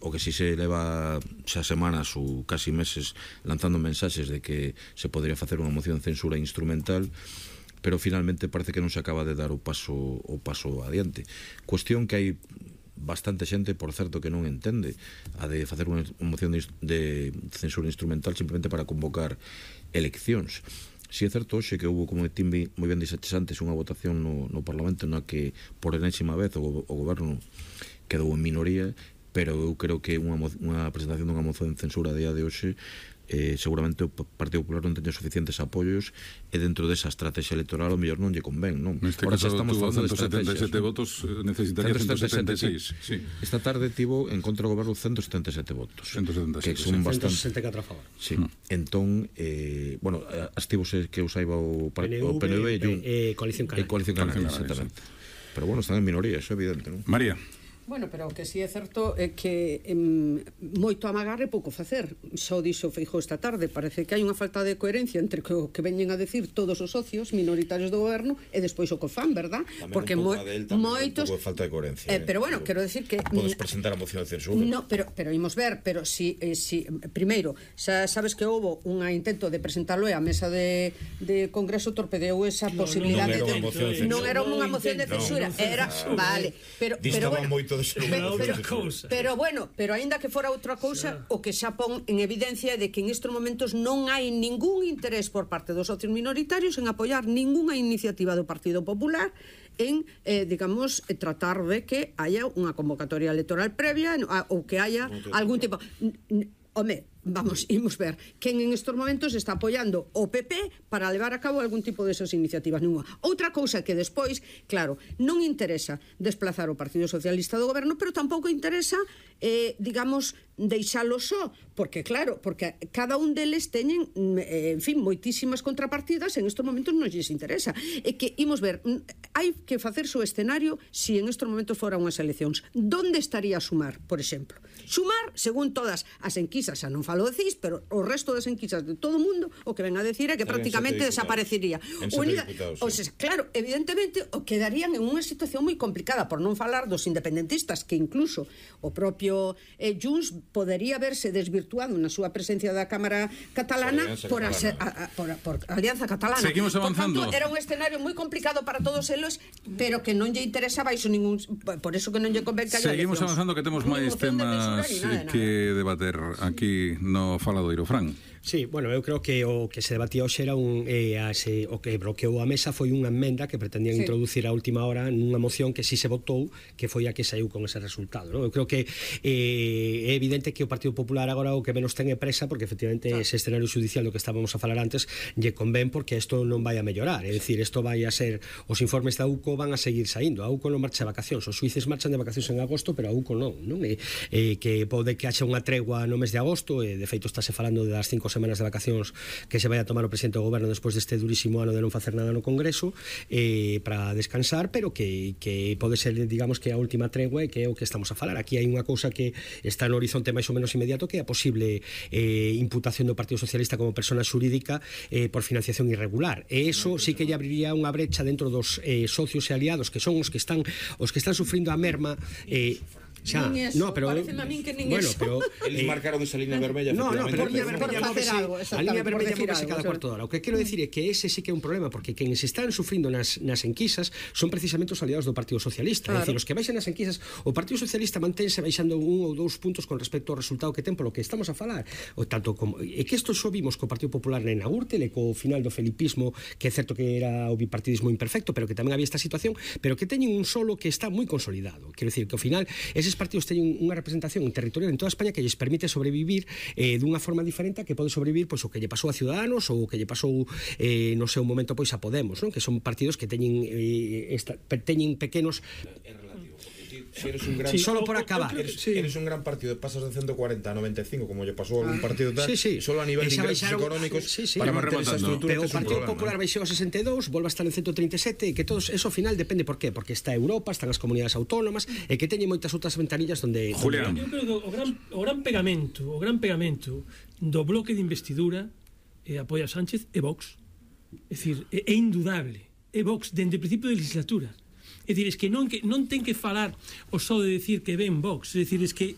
o que si se leva xa semanas ou casi meses lanzando mensaxes de que se podría facer unha moción de censura instrumental, pero finalmente parece que non se acaba de dar o paso adiante. Cuestión que hai bastante xente, por certo, que non entende a de facer unha moción de censura instrumental simplemente para convocar eleccións. Si é certo hoxe que houve, como Timbi moi ben dixetes antes, unha votación no Parlamento na que por enésima vez o goberno quedou en minoría, pero eu creo que unha presentación dunha moción de censura a día de hoxe seguramente o Partido Popular non teña suficientes apoios e dentro desa estrategia electoral o mellor non lle convén, non? Neste caso tuvo 177 votos, necesitaría 176. Sí. Esta tarde tivo en contra do goberno 177 votos, 177, que son bastante. 164 a favor. Sí. Entón, bueno, astívose que eu saiba o PNV e Coalición Canaria, exactamente. Pero bueno, están en minoría, eso é evidente, non? María. Bueno, pero o que si é certo é que moito amagar e pouco facer. Só dixo Feijóo esta tarde, parece que hai unha falta de coherencia entre o que veñen a decir todos os socios minoritarios do goberno e despois o que fan, verdad? Tamén porque moitos un pouco de falta de coherencia. Pero bueno, quero decir que podes presentar a moción de censura. No, pero imos ver, pero si primeiro, xa sabes que houbo un intento de presentalo e a mesa de Congreso torpedeou esa posibilidade. Non era unha moción de censura, era, vale, pero bueno, pero bueno, pero aínda que fora outra cousa, o que xa pon en evidencia é de que en estes momentos non hai ningún interés por parte dos socios minoritarios en apoiar ningunha iniciativa do Partido Popular en, digamos, tratar de que haya unha convocatoria electoral previa ou que haya algún tipo... Home, vamos, imos ver quen en estes momentos está apoiando o PP para levar a cabo algún tipo desas iniciativas. Outra cousa que despois, claro, non interesa desplazar o Partido Socialista do goberno, pero tampouco interesa, digamos, deixalo só, porque claro, porque cada un deles teñen, en fin, moitísimas contrapartidas, en estes momentos non lles interesa. É que, imos ver, hai que facerse o escenario si en estes momentos foran unhas eleccións. Donde estaría Sumar, por exemplo? Sumar, según todas as enquisas, xa non falo de CIS, pero o resto das enquisas de todo o mundo, o que ven a decir é que prácticamente desaparecería. Claro, evidentemente o quedarían en unha situación moi complicada, por non falar dos independentistas, que incluso o propio Junts podería verse desvirtuado na súa presencia da Cámara Catalana por Alianza Catalana. Seguimos avanzando. Por tanto, era un escenario moi complicado para todos eles, pero que non lle interesaba iso ningún, por eso que non lle convén que haya eleccións. Seguimos avanzando, que temos máis temas que debater aquí no Faladoiro. Fran. Sí, bueno, eu creo que o que se debatía hoxe era o que bloqueou a mesa foi unha emenda que pretendían introducir a última hora nunha moción que si se votou, que foi a que saiu con ese resultado, non? Eu creo que é evidente que o Partido Popular agora o que menos ten é presa, porque efectivamente ese escenario judicial do que estábamos a falar antes lle convén, porque isto non vai a mellorar, é dicir, isto vai a ser, os informes da UCO van a seguir saindo. A UCO non marcha de vacacións, os suíces marchan de vacacións en agosto, pero a UCO non? Que pode que haxa unha tregua no mes de agosto, e de feito estáse falando das 5 semanas de vacacións que se vai a tomar o presidente do goberno despois deste durísimo ano de non facer nada no Congreso, para descansar, pero que pode ser, digamos, que a última tregua e que é o que estamos a falar. Aquí hai unha cousa que está no horizonte máis ou menos inmediato, que é a posible imputación do Partido Socialista como persona xurídica por financiación irregular, e eso sí que lle abriría unha brecha dentro dos socios e aliados que son os que están sufrindo a merma. Xa, no, pero pareceme a min que nin eso. Pero eles marcaron esa línea vermella, a línea vermella móvese cada cuarto de hora. O que quero decir é que ese sí que é un problema, porque quen se están sufrindo nas enquisas son precisamente os aliados do Partido Socialista. É dicir, os que baixan nas enquisas, o Partido Socialista mantense baixando 1 ou 2 puntos con respecto ao resultado que ten polo que estamos a falar. Tanto como é que isto xo vimos co Partido Popular na Gürtel e co final do felipismo, que é certo que era o bipartidismo imperfecto, pero que tamén había esta situación, pero que teñen un solo que está moi consolidado. Quero decir que ao final eses partidos teñen unha representación territorial en toda España que lles permite sobrevivir dunha forma diferente a que pode sobrevivir pois o que lle pasou a Ciudadanos ou o que lle pasou no seu momento pois a Podemos, non? Que son partidos que teñen pequenos. Si eres un gran, solo por acabar. Eres un gran partido, pasas de 140 a 95, como lle pasou a algún partido tal, solo a nivel de ingresos económicos, para manter esa estrutura. Pero o Partido Popular baixou a 62, volve a estar en 137, e que todo eso ao final depende por qué? Porque está Europa, están as comunidades autónomas, e que teñen moitas outras ventanillas donde... Julián. Eu creo que o gran pegamento do bloque de investidura apoia a Sánchez e Vox. É dicir, é indudable. É Vox dende o principio de legislatura. É dicir, es que non ten que falar o só de decir que ven Vox, é dicir, es que